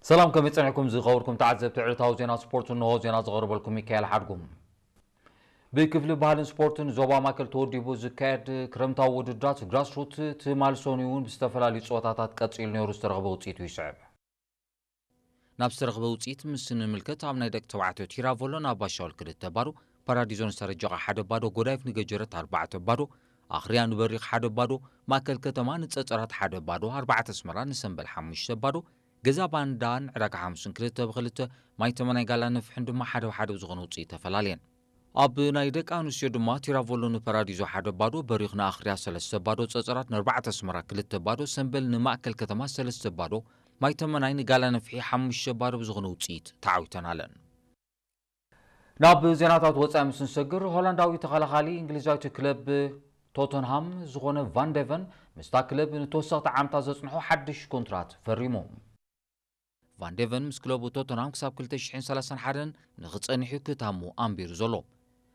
ሰላም፣ ከመይ ጸኒሕኩም ዝኸበርኩም ተዓዘብቲ ዕለታዊ ዜና ስፖርት? እንሆ ዜና ዘቕርበልኩም ሚካኤል ሓድጉ። ብክፍሊ ባህልን ስፖርትን ዞባ ማእከል ተወዲቡ ዝካየድ ክረምታዊ ውድድራት ግራስሩት ትማል ሰኑይ እውን ብዝተፈላለዩ ጸወታታት ቀጺሉ ነይሩ። ዝተረኽበ ውጽኢቱ ይስዕብ። ናብ ዝተረኽበ ውጽኢት ምስ ንምልከት፣ ኣብ ናይ ደቂ ተባዕትዮ ቲራቮሎ ንኣባሻውል ክልተ ባዶ፣ ፓራዲዞ ንሰረጀቓ ሓደ ባዶ፣ ጎዳይፍ ንገጀረት ኣርባዕተ ባዶ፣ ኣኽርያ ንበሪኽ ሓደ ባዶ፣ ማእከል ከተማ ንጸጸራት ሓደ ባዶ፣ ኣርባዕተ ኣስመራ ንሰምበል ሓሙሽተ ባዶ፣ ገዛ ባንዳን ዕዳጋ ሓሙስን ክልተ ብክልተ፣ ማይ ተመናይ ጋላ ነፍሕን ድማ ሓደ ብሓደ ብዝኾነ ውጽኢት ተፈላለየን። ኣብ ናይ ደቂ ኣንስትዮ ድማ ቲራቮሎ ንፓራዲዞ ሓደ ባዶ፣ በሪኽ ንኣኽርያ ሰለስተ ባዶ፣ ጸጸራት ንኣርባዕተ ኣስመራ ክልተ ባዶ፣ ሰምበል ንማእከል ከተማ ሰለስተ ባዶ፣ ማይ ተመናይ ንጋላ ነፍሒ ሓሙሽተ ባዶ ብዝኾነ ውጽኢት ተዓዊተን ኣለን። ናብ ዜናታት ወጻኢ ምስ ንሰግር፣ ሆላንዳዊ ተኸላኻሊ እንግሊዛዊት ክለብ ቶተንሃም ዝኾነ ቫን ዴቨን ምስታ ክለብ ንተወሰኽቲ ዓመታት ዘጽንሖ ሓድሽ ኮንትራት ፈሪሙ። ቫን ዴቨን ምስ ክለቡ ቶተንሃም ክሳብ ክልተ ሽሕን ሰላሳን ሓደን ንኽጸንሕ እዩ ክታሙ ኣንቢሩ ዘሎ።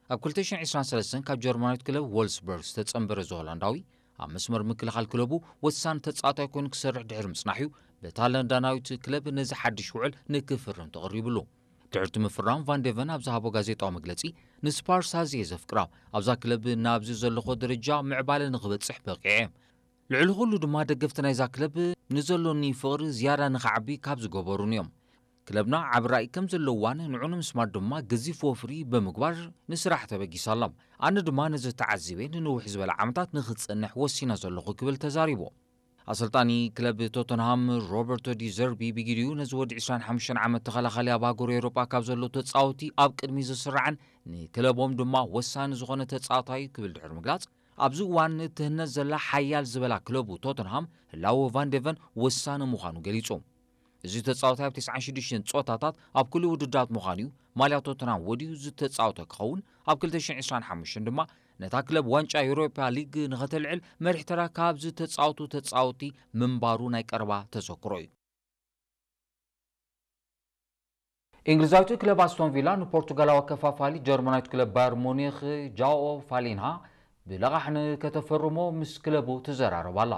ኣብ ክልተ ሽሕን ዕስራን ሰለስተን ካብ ጀርመናዊት ክለብ ዎልስበርግ ዝተጸንበረ እዚ ሆላንዳዊ፣ ኣብ መስመር ምክልኻል ክለቡ ወሳኒ ተጻዋታይ ኮይኑ ክሰርሕ ድሕሪ ምጽናሕ እዩ በታ ለንዳናዊት ክለብ ነዚ ሓድሽ ውዕል ንክፍርም ተቐሪብሉ። ድሕርቲ ምፍራም፣ ቫን ዴቨን ኣብ ዝሃቦ ጋዜጣዊ መግለጺ፣ ንስፓርስ ኣዝየ ዘፍቅራ፣ ኣብዛ ክለብ ናብዚ ዘለኹ ደረጃ ምዕባለ ንኽበጽሕ በቂዐ። ልዕሊ ኩሉ ድማ ደገፍቲ ናይዛ ክለብ ንዘሎኒ ፍቕሪ ዝያዳ ንኽዓቢ ካብ ዝገበሩኒ እዮም። ክለብና ዓቢ ራእይ ከም ዘለዋን ንዑ ንምስማር ድማ ገዚፍ ወፍሪ ብምግባር ንስራሕ ተበጊሳ ኣላ። ኣነ ድማ ነዚ ተዓዚበ ንንውሕ ዝበለ ዓመታት ንኽጸንሕ ወሲነ ዘለኹ ክብል ተዛሪቡ። ኣሰልጣኒ ክለብ ቶተንሃም ሮበርቶ ዲ ዘርቢ ብግዲኡ ነዚ ወዲ ዕስራን ሓሙሽተን ዓመት ተኸላኻሊ ኣብ ሃገሩ ኤውሮጳ ካብ ዘለዉ ተጻወቲ ኣብ ቅድሚ ዝስራዕን ንክለቦም ድማ ወሳኒ ዝኾነ ተጻዋታይ ክብል ድሕሪ ምግላጽ፣ ኣብዚ እዋን እትህነጽ ዘላ ሓያል ዝበላ ክለቡ ቶተንሃም ህላወ ቫን ዴቨን ወሳኒ ምዃኑ ገሊጹ። እዚ ተጻዋታይ ኣብ ተስዓን ሽዱሽተን ጸወታታት ኣብ ኩሉ ውድድራት ምዃኑ እዩ ማልያ ቶተንሃም ወዲኡ ዝተጻወተ ክኸውን፣ ኣብ ክልተ ሽሕን ዕስራን ሓሙሽተን ድማ ነታ ክለብ ዋንጫ ዩሮፓ ሊግ ንኸተልዕል መሪሕ ተራ ካብ ዝተጻወቱ ተጻወቲ ምንባሩ ናይ ቀረባ ተዘክሮ እዩ። እንግሊዛዊት ክለብ ኣስቶን ቪላ ንፖርቱጋላዊ ኣከፋፋሊ ጀርመናዊት ክለብ ባየር ሙኒኽ ጃኦ ፋሊንሃ ብለቓሕ ንከተፈርሞ ምስ ክለቡ ትዘራረብ ኣላ።